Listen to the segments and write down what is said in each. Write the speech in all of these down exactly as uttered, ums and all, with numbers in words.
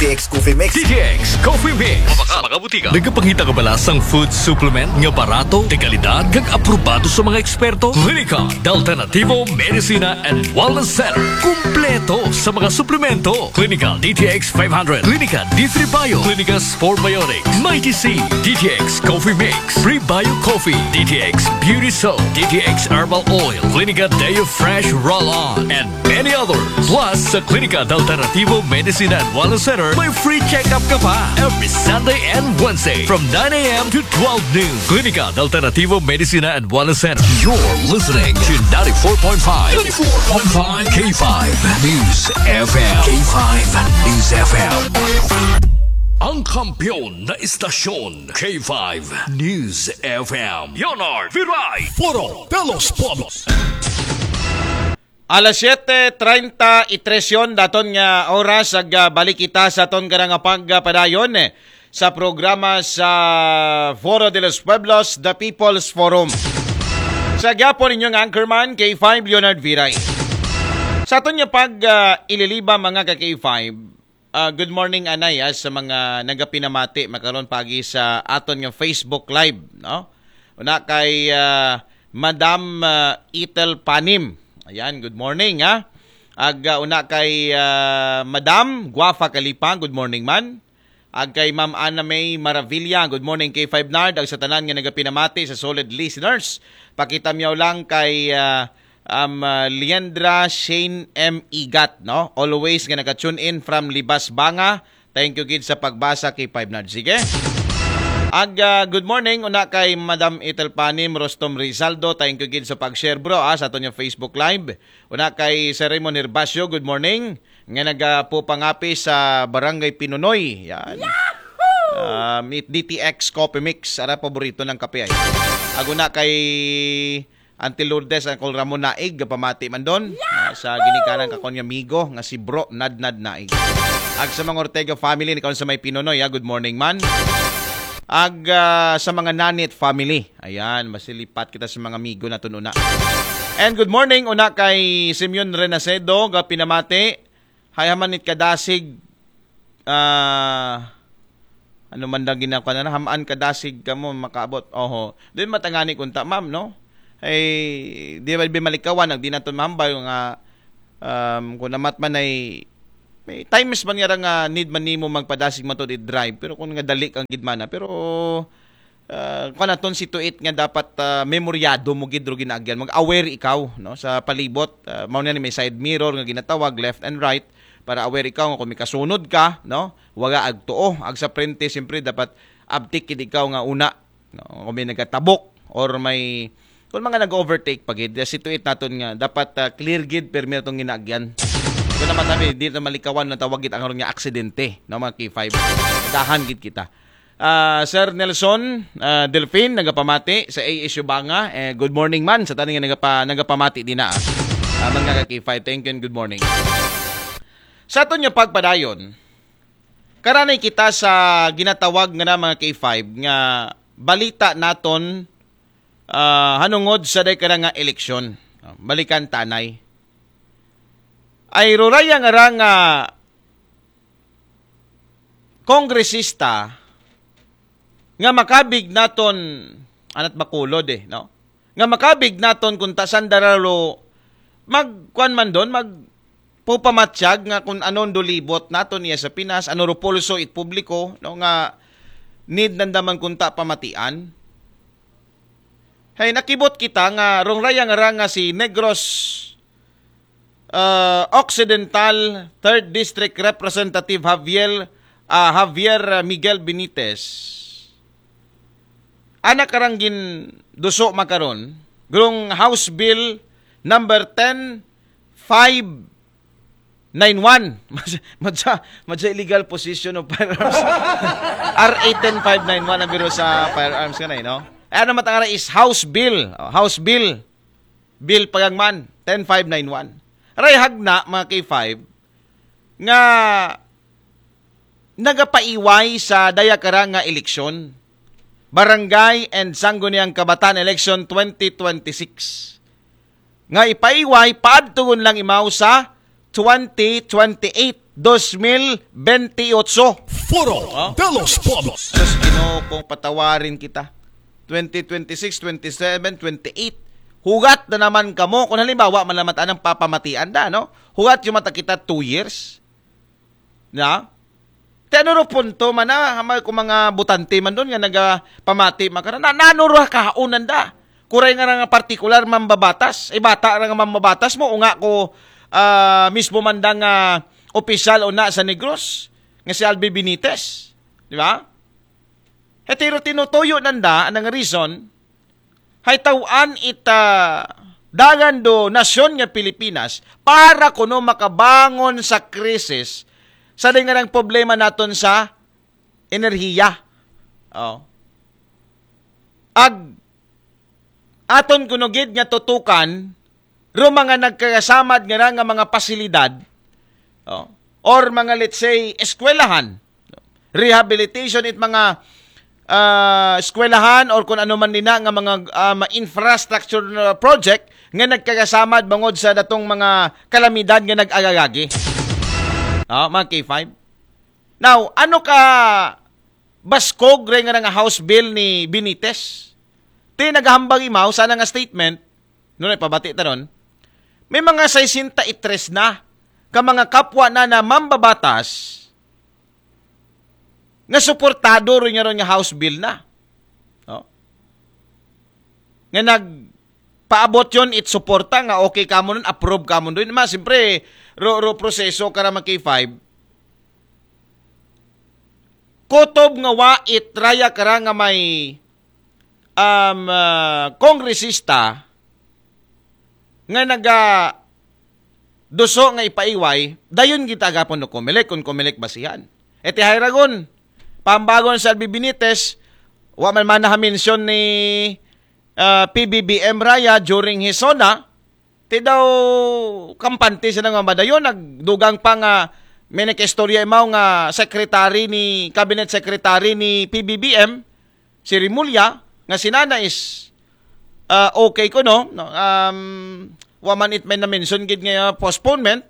T X Coffee Mix. D T X Coffee Mix. Sa mga butika. Nagapangita ka ba sa food supplement nga barato, de kalidad, kag aprobado sa mga eksperto? Klinika de Alternativo Medicina and Wellness Center. Kumpleto sa mga suplemento. Klinika D T X five hundred, Klinika D three Bio, Klinika Sport Biotics, Mighty C, D T X Coffee Mix, Prebio Coffee, D T X Beauty Soap, D T X Herbal Oil, Klinika Deo Fresh Roll-On, and many others. Plus, sa Klinika de Alternativo Medicina and Wellness Center, may free check-up ka pa every Sunday and Wednesday from nine a.m. to twelve noon. Klinika de Alternativo Medicina and Wellness Center. You're listening to ninety-four point five, ninety-four point five K five News F M. K five News F M. Ang kampiyon na istasyon, K five News F M. Leonard Viray. Foro de los Pueblos. Alas siyete treinta y tres yon daton nga oras, ag ah, balik kita sa aton karang pagpadayon eh, sa programa sa Foro de los Pueblos, The People's Forum. Sa gyapon inyong anchorman, K five Leonard Viray. Sa aton nga pag ah, ililiba, mga ka K five, ah, good morning anay ah, sa mga nagapinamati makaron pagi sa aton nga Facebook Live, no? Una kay ah, Madam ah, Ethel Panim. Ayan, good morning ha. Ag ah, una kay ah, Madam Guafa Kalipang, good morning man. Ag kay Ma'am Ana May Maravilla, good morning K five Nard. Ag sa tanan nga nagapinamati, sa solid listeners, pakita miyaw lang kay ah, um, ah, Liendra Shane M Igat, no? Always nga naka-tune in from Libas Banga. Thank you gid sa pagbasa, K five Nard. Sige. Ag ah, good morning una kay Madam Ethel Panim, Rostom Rizaldo. Thank you gid sa pag-share, bro, ah, sa aton nga Facebook Live. Una kay Sir Raymond Herbacio, good morning. Nga nagapupangapi sa Barangay Pinunoy. Yan. Um, it D T X Coffee Mix. Ara paborito ng kape ay. Ag una kay Auntie Lourdes, Uncle Ramon Naig, pamati man don. Ah, sa ginikanan ka kon nga migo nga si Bro Nadnad Naig. Ag sa mga Ortega family ni kon sa may Pinunoy, ah, good morning man. Ag ah, sa mga Nanit family. Ayan, masilipat kita sa mga migo naton una. And good morning una kay Simeon Renacedo, ga pinamati. Hay haman it kadasig, ah, ano man daw ginakuha na, hamaan kadasig kamo makaabot. Oho. Di matangani kunta, ma'am, no? Ay, di ba, di malikawan, ang di naton mahambal nga, um, kung namat man ay, may times man nga ra nga need man nimo magpadasig man to di drive, pero kung nga dali kang gidmana, pero ah, kuan naton si tuit nga dapat ah, memoryado mo gid ro ginaagyan, mag-aware ikaw, no, sa palibot. Ah, mao na ni may side mirror nga ginatawag, left and right, para aware ikaw nga kung may kasunod ka, no, waga agtuo. Ag sa prente, siyempre dapat abtik gid ikaw nga una, no, kung may nagatabok or may kung mga nag-overtake pa gid, si tuit naton nga dapat ah, clear gid permi atong ginaagyan. Kung naman tabi, di na malikawan na tawag gid ang aron nga aksidente, no, mga K five. Dahan gid kita. Ah, Sir Nelson ah, Delfin, nagapamati sa A S U Banga. Eh, good morning man sa tanan nga nagapa, nagapamati din na. Ah, mga ka K five, thank you and good morning. Sa aton nga pagpadayon, karanay kita sa ginatawag nga na mga K five nga balita naton ah, hanungod sa day ka na nga eleksyon. Ah, balikan tanay. Ay ruraya nga ra nga kongresista nga makabig naton, anat bakulod eh, no? Nga makabig naton kung ta sandara lo magkuan man don, mag pupamatsyag nga kung anon dolibot naton iya sa Pinas, ano ro pulso it publiko, no, nga need nandaman kunta pamatian. Hay nakibot kita nga rong raya nga ra nga si Negros ah, Occidental Third District Representative Javier ah, Javier Miguel Benitez. Ana karang gin duso makaron, grong House Bill number ten five nine one. Madya, madya illegal possession of firearms. R A ten five nine one ang biro sa firearms ka na, eh, no? Eh, ano matangara is House Bill. Oh, House Bill. Bill pagangman, ten five nine one. Aray hagna, mga K five, nga nagapaiway sa dayakara nga eleksyon, Barangay and Sangguniang Kabataan Election twenty twenty-six. Nga ipaiway, paadtugon lang imaw sa twenty twenty-eight. dos mil bentiocho. Foro de los Pueblos. Diyos Ginoo, kung patawarin kita. Twenty twenty-six, twenty-seven, twenty-eight. Hugat na naman kamo. Kung halimbawa, malamat anang papamatian da, no? Hugat yung mata kita two years. Na? Te ano ro punto man na, hamay ko mga butante man doon nga nagapamati makara. Na, nano ro kahaonan da? Kuray nga nga partikular mambabatas. Eh, bata ra nga mambabatas mo, unga ko ah, mismo man da nga opisyal o na sa Negros, nga si Albi Benitez. Di ba? Hetiro tinutuyo nanda, anang reason, hay tawaan ita dagan do nasyon nga Pilipinas para kuno makabangon sa krisis sa dingarang problema naton sa enerhiya. Oh. Ag aton kuno gid nga tutukan ro mga nagkagasamad nga ra nga mga pasilidad, oh, or mga, let's say, eskwelahan, rehabilitation it mga ah, eskwelahan or kung ano man nina nga mga ah, ma- infrastructure na project nga nagkagasamad bangod sa datong mga kalamidad nga nag-agagagi. Oh, mga K five. Now, ano ka baskog ray nga nga House Bill ni Benitez? Ti nagahambag imaw sana nga statement, no, pabati ta ron. May mga sesenta y tres na ka mga kapwa na na mambabatas nga suportado rin nga ron nga House Bill na. No? Nga nag paabot yon it suporta nga okay kamo nun, approve kamo nun. Ma, siyempre, ro, ro proseso kara mga K five. Kutob nga wa it raya kara nga may um, ah, kongresista nga naga duso nga ipaiway, dayon gid agapon no Comelec, kung Comelec basihan. E ti hay ragon, pambagon sa Albi Benitez, wa man man nahamensyon ni ah, P B B M raya during his SONA, ti daw kampante sila nga madayon, nagdugang pa nga may nagkaistorya imaw nga secretary ni, cabinet secretary ni P B B M, si Remulla, nga sinana is ah, okay ko, no? No, um, wa man it may na-mention gid nga postponement,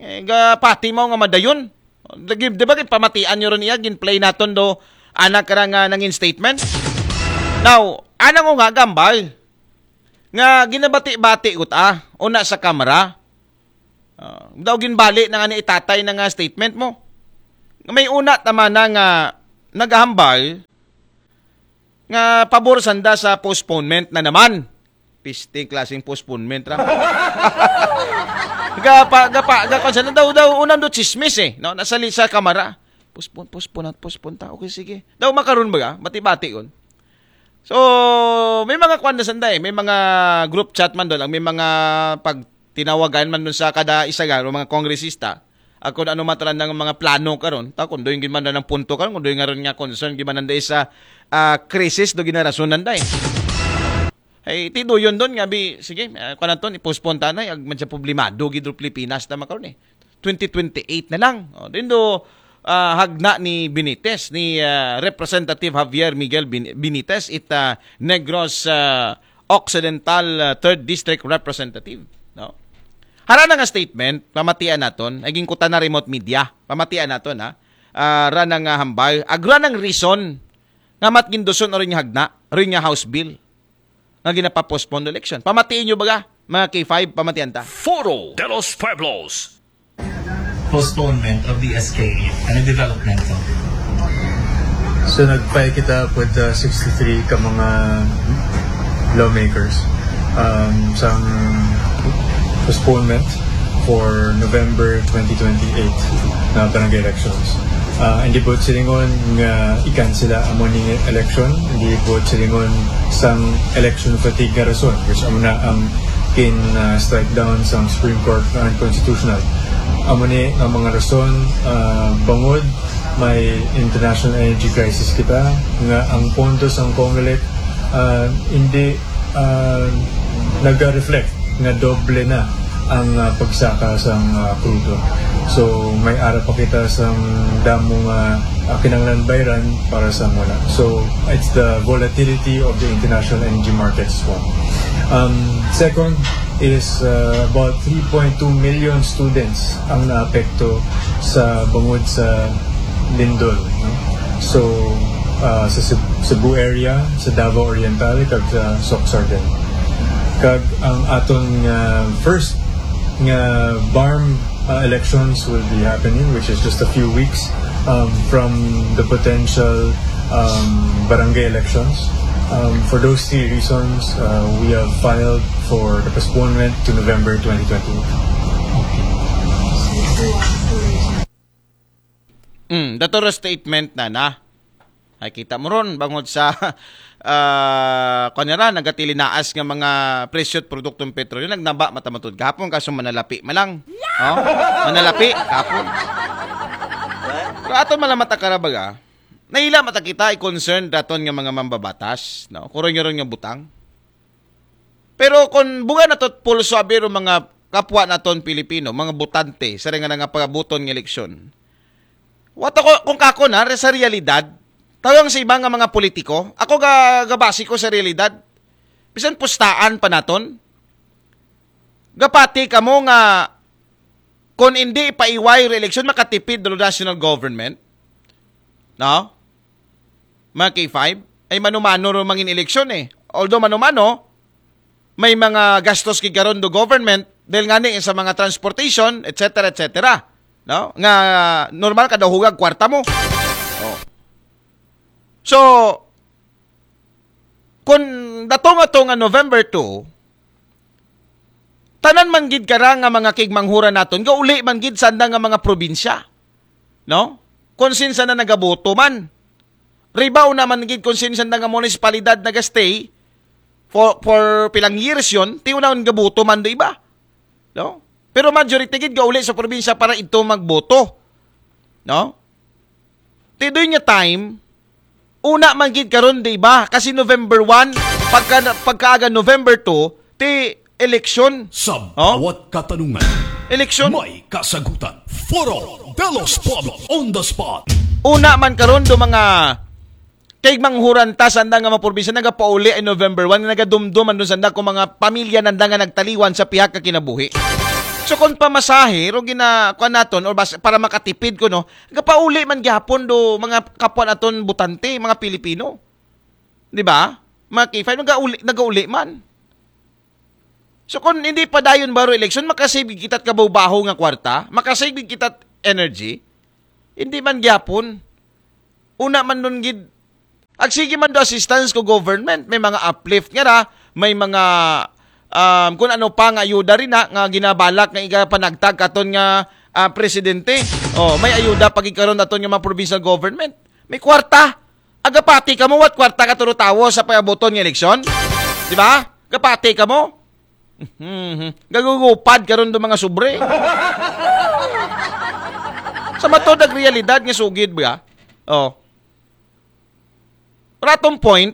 eh, ga pati mo nga madayon. Di, di ba gid pamatian nyo ron iya, gin-play naton do, anak ra nga nangin statement? Now, anang ko nga gambal nga ginabati-bati ko ta, una sa kamera. Ah, daw ginbali na nga ni itatay na nga statement mo. May una tama na nga nagahambal nga pabor sanda sa postponement na naman. Pisting klaseng postponement ra. Gapa, gapa, gapa, sa daw, daw, unang do chismis eh, no? Nasali sa kamera. Postpone, postpone, at postpone ta. Okay, sige. Daw makaroon ba ka? Bati-bati yun. So, may mga kwan na sanda eh. May mga group chat man doon. Ang may mga pagtinawagan man doon sa kada isa nga, mga kongresista. Ako na ano mataran ng mga plano karon. Ta kung doon gid man ng punto karon, kung doon nga ron nga concern gid man ng isa ah, krisis do ginarasonan da eh. Ay, ti doon doon nga bi, sige, uh, kanaton, i-postpone ta na, ag man siya problemado gid ro Pilipinas na makaron eh. Twenty twenty-eight na lang. O, din do ah, hagna ni Benitez, ni ah, Representative Javier Miguel Bin- Benitez, it ah, Negros ah, Occidental ah, Third District Representative, no? Hara na nga statement, pamatian naton, ay ginkutan na remote media, pamatian naton ha. Ah, ra na nga hambal, agra nang reason nga mat ginduson o rin nga hagna, rin nga House Bill nga ginapapostpone election. Pamatiin nyo baga, mga K five, pamatian ta. Foro de los Pueblos. Postponement of the S K eight. Ano development to? So nag-file kita with the sixty-three ka mga lawmakers um, sa postponement for November twenty twenty-eight na barangay elections. Uh, hindi po silingon nga ikan sila amo ni election, hindi po silingon sang election fatigue nga rason, which amo na ang kin uh, strike down sa Supreme Court na unconstitutional. Amo ni nga mga rason uh, bangod may international energy crisis kita nga ang pondo sang Comelec uh, hindi uh, nag-reflect nga doble na ang uh, pagsaka sang uh, krudo. So may ara pa kita sang damo nga uh, kinanglan bayran para sa muna. So it's the volatility of the international energy markets po. Um, second, is uh, about three point two million students ang naapekto sa bangod sa lindol. No? So, uh, sa Ceb- Cebu area, sa Davao Oriental, kag sa Sorsogon. Kag ang aton nga first nga BARMM uh, elections will be happening, which is just a few weeks um, from the potential um, barangay elections. Um, for those three reasons, uh, we have filed for the postponement to November twenty twenty-eight. Mm, dato ra statement na na. Ay, kita mo ron, bangod sa uh, kanira, nagatilinaas nga mga presyo at produktong petrolyo, nagnaba mata man tud gahapon, kaso manalapi man lang. Oh? Manalapi, gahapon. Pero aton malamat akara baga, naila mata kita i-concern daton nga mga mambabatas, no? Kuron nga ron nga butang. Pero kung buga nato pulso abi ro mga kapwa naton Pilipino, mga botante sa ringa nga pagabuton nga eleksyon. Wa ta ko, kung kako na sa realidad, tawang sa iba nga mga politiko, ako ga gabasi ko sa realidad. Bisan pustaan pa naton. Gapati kamo nga kung hindi paiway re-election, makatipid do national government. No? Mga K five, ay mano-mano ro mangin eleksyon eh. Although mano-mano, may mga gastos kay karon do government dahil nga ni sa mga transportation, et cetera, et cetera. No? Nga normal kada hugag kwarta mo. Oh. So, kung dato nga to nga November two, tanan man gid kara nga mga kigmanghuran naton, gauli man gid sanda nga mga probinsya. No? Kung sinsa na nagaboto man. Ribaw naman gid kung sinsa na nga munisipalidad nagastay for, for pilang years yon, ti unahon gaboto man do iba. No? Pero majority gid gauli sa probinsya para ito magboto. No? Ti doy nga time, una man gid karon di ba? Kasi November one, pagka, pagkaaga November two, ti eleksyon. Sa Oh? bawat katanungan, Eleksyon. may kasagutan. Foro de los Pueblos on the spot. Una man karon do mga kay manghuran ta sanda nga mga probinsya nagapauli ay November one nga nagadumdum andun sanda kung mga pamilya nanda nga nagtaliwan sa pihak ka kinabuhi. So kung pamasahe ro gina kuan naton or bas, para makatipid ko no, gapauli man gihapon do mga kapwa naton butante, mga Pilipino. Di ba? Mga K five nagauli, nagauli man. So kung hindi pa dayon baro eleksyon, makasave gid kita't kabaw-baho nga kwarta, makasave gid kita't energy. Hindi man gyapon. Una man nun gid, agsige man do assistance ko government, may mga uplift nga ra, may mga um, kung ano pa nga ayuda rin na, nga ginabalak nga igapanagtag katon nga ah, presidente. Oh, may ayuda pag ikaron aton nga mga provincial government. May kwarta. Agapati ka mo, what kwarta ka turo tawo sa pagabuton nga eleksyon? Di ba? Gapati ka mo? Mhm. Gagugupad karon do mga sobre. Sa matod ag realidad nga sugid ba? Oh. Ratong point,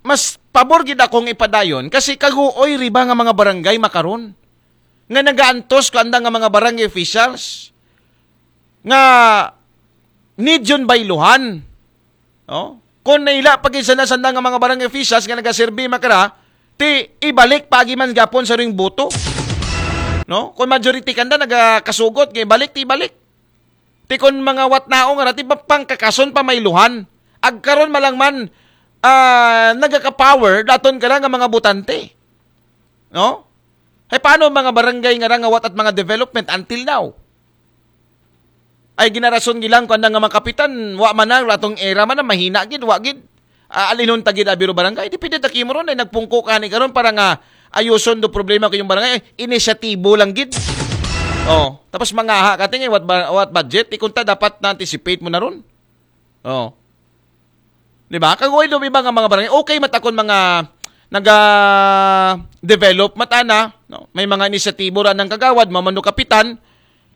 mas pabor gid akong ipadayon kasi kaguoy riba nga mga barangay makaron nga nagaantos ko anda nga mga barangay officials nga need yun bayluhan. No? Kung naila pag isa na sanda nga mga barangay officials nga nagaserbi makara, ti ibalik pagi man gapon sa ring boto. No? Kung majority kanda nagakasugot nga ibalik, ti ibalik. Ti kon mga watnao nga ra, ti pangkakason pa mayluhan. Agkaron malangman ah, nagaka-power daton ka nga mga butante. No? Hay paano mga barangay nga ra nga wat at mga development until now? Ay ginarason gilang kanda nga mga kapitan, wa man na, ratong era man na, mahina gid, wa gid. Ah, alinhon ta gid abiro barangay, di pwede ta kimuron ay nagpungko ka ni karon para nga ayuson do problema ko yung barangay, inisyatibo lang gid. Oh, tapos mangaha ka tingin what, ba- what budget, ikunta dapat na anticipate mo na ron. Oh. Di ba? Kaguoy do iba nga mga barangay, okay matakon mga naga develop matana, no? May mga inisyatibo ra ng kagawad, mamano kapitan,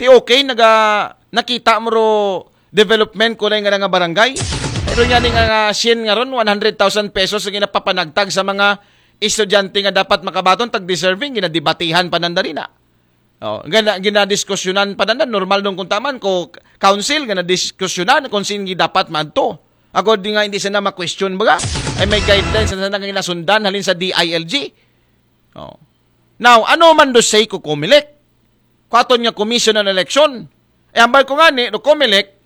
ti okay naga nakita mo ro development ko na nga nga barangay. Pero nga ni nga sien nga ron, one hundred thousand pesos ang ginapapanagtag sa mga estudyante nga dapat makabaton tag deserving, ginadibatihan pa nandalina. Oh, gina, ginadiskusyonan pa na normal nung kuntaman ko council nga nadiskusyonan kung sino dapat madto. Ako di nga hindi sana ma-question baga ay may guidelines na sana nga ginasundan halin sa D I L G. Oh. Now, ano man do say ko Comelec? Ko aton nga commission on election. E hambal ko ngani, do Comelec,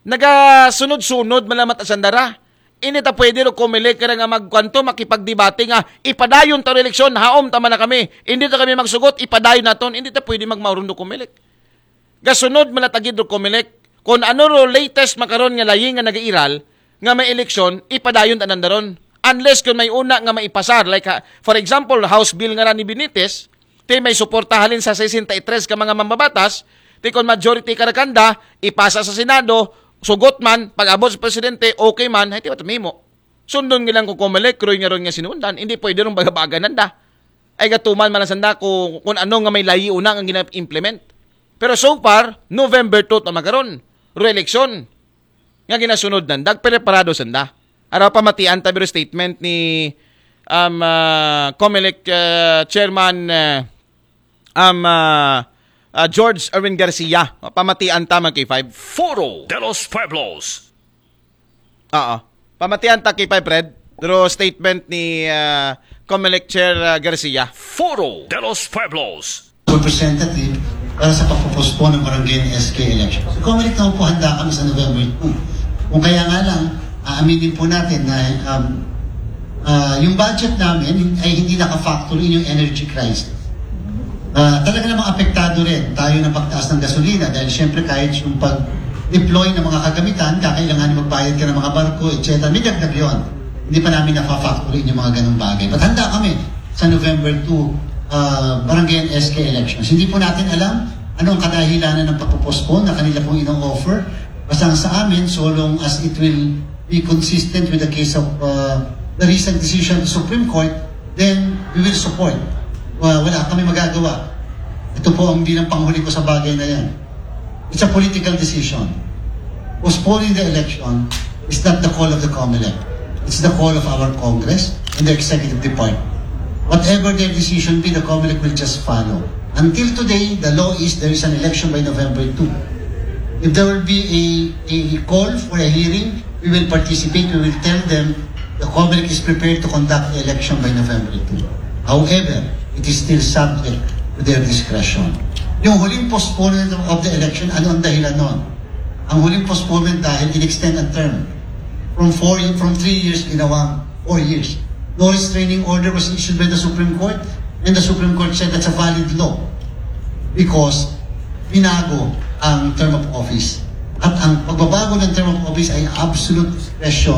nagasunod-sunod man lang mata sanda ra. Hindi ta pwede do Comelec kara nga magkuanto, makipagdebate nga, ipadayon ta do eleksyon, haom ta man na kami. Hindi ta kami magsugot, ipadayon naton. Hindi ta pwede magmauron do Comelec. Gasunod man lang ta gid do Comelec. Kung ano ro latest makaron nga layi nga nagairal, nga may eleksyon, ipadayon ta nanda ron. Unless kung may una nga maipasar, like, ha, for example, House Bill nga ra ni Benitez, ti may suporta halin sa sesenta y tres ka mga mambabatas, ti kon majority kara kanda, ipasa sa Senado, sugot man, pag-abot sa presidente, okay man, hay ti wa ta mahimo. Sundon nga lang ko Comelec, Roy nga ron nga sinuundan, hindi pwede rong baga-baga nanda. Ay gatuman man lang sanda kung, kung ano nga may layi una nga gina-implement. Pero so far, November two ta makaron, ro eleksyon. Nga ginasunod nanda, preparado sanda. Ara pamatian ta biro statement ni um, ah, Comelec ah, Chairman ah, um, ah, ah, George Erwin Garcia. Pamatian ta, mga K five. Foro de los Pueblos. Oo. Pamatian ta, K five Red. Pero statement ni ah, Comelec Chair ah, Garcia. Foro de los Pueblos. Representative para sa pagpo-postpone ng barangay and S K election. So, Comelec naman po, handa kami sa November two. Kung kaya nga lang, aaminin po natin na um, ah, yung budget namin ay hindi naka-factor in yung energy crisis. Ah, talaga namang apektado rin tayo ng pagtaas ng gasolina dahil siyempre kahit yung pag-deploy ng mga kagamitan, kakailangan magbayad ka ng mga barko, et cetera. May dagdag yon. Hindi pa namin nafa-factor in yung mga ganong bagay. But handa kami sa November two, ah, barangay and S K elections. Hindi po natin alam anong kadahilanan ng pagpo-postpone na kanila pong ino-offer. Basta ang sa amin, so long as it will be consistent with the case of uh, the recent decision of the Supreme Court, then we will support. Uh, wala kami magagawa. Ito po ang bilang panghuli ko sa bagay na yan. It's a political decision. Postponing the election is not the call of the Comelec. It's the call of our Congress and the executive department. Whatever their decision be, the Comelec will just follow. Until today, the law is there is an election by November two. If there will be a, a call for a hearing, we will participate. We will tell them the Comelec is prepared to conduct the election by November two. However, it is still subject to their discretion. Yung huling postponement of the election, ano ang dahilan nun? Ang huling postponement dahil in-extend ang term. From four, from three years, ginawang four years. No restraining order was issued by the Supreme Court, and the Supreme Court said that's a valid law because binago ang term of office. At ang pagbabago ng term of office ay absolute discretion